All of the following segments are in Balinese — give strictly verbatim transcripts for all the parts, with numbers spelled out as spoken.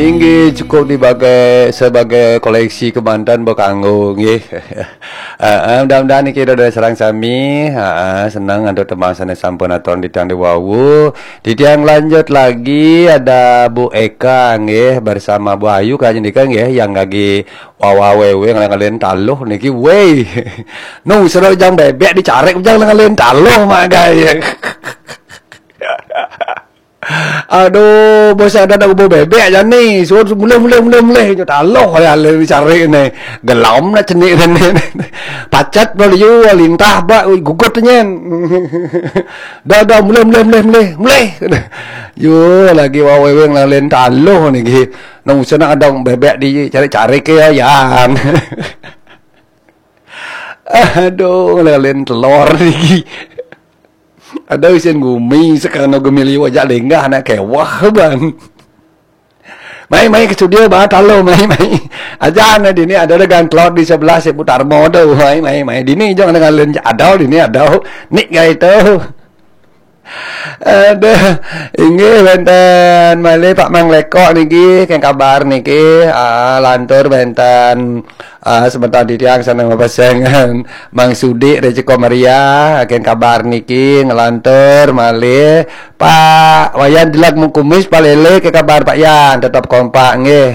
Inggih, cukup dibagai sebagai koleksi kemanten bekanggo nggih. Heeh, mudah-mudahan niki dah sareng sami, heeh, seneng antuk tembang sane sampun atur titiang dewawu. Titiang lanjut lagi, ada Bu Eka nggih bersama Bu Ayu kayaknya nika nggih, yang lagi wawawewe ngalen-ngalen taluh niki. Weh. Nu sedang jang bebek dicarik jang ngalen taluh mak gaya. Aduh, bos ada nak bau bebek aja nih. Suruh mulai, mulai, mulai, mulai. Nyo taluh ya, le cari nih. Gelam nak cenik nih. Pacet bro, yo lintah bak, ui, gugut nyen. Dah, dah, mulai, mulai, mulai, mulai, mulai. Yo, lagi wawewe ngalen taluh nih, gih. Nang usah nak ada bebek dicari-cari ke ya, yang. Aduh, ngalen telur nih, gih. Ada usin gumi sekarang gemili wajak lenggah nak kewah ban. Mai, mai ke studio ba talo, mai, mai. Aja na dini ada dengan telur di sebelah si putar modo, mai, mai, mai. Dini jong dengan len ada dini ada. Nik gaya itu. Aduh, inggih benten malih Pak Mang Lekok niki, keng kabar niki, ah, lantur benten, ah, sebentar di tiang sana mapasengan Mang Sudik dari Ceko Meriah, keng kabar niki, ngelantur malih Pak Wayan Dilak Mengkumis palele ke kabar Pak Yan, tetap kompak nggih.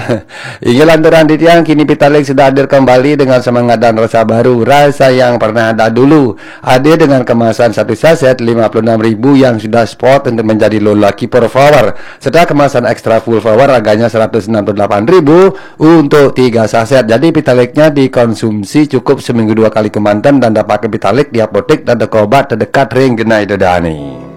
Inggih lanturan di tiang, kini Pitalik sudah hadir kembali dengan semangat dan rasa baru, rasa yang pernah ada dulu. Hadir dengan kemasan satu saset lima puluh enam ribu yang sudah spot untuk menjadi low lucky per power, serta kemasan extra full power harganya seratus enam puluh delapan ribu untuk tiga saset. Jadi Pitaliknya dikonsumsi cukup seminggu dua kali kemanten dan dapatkan Pitalik di apotek dan toko obat terdekat ring genai dedani.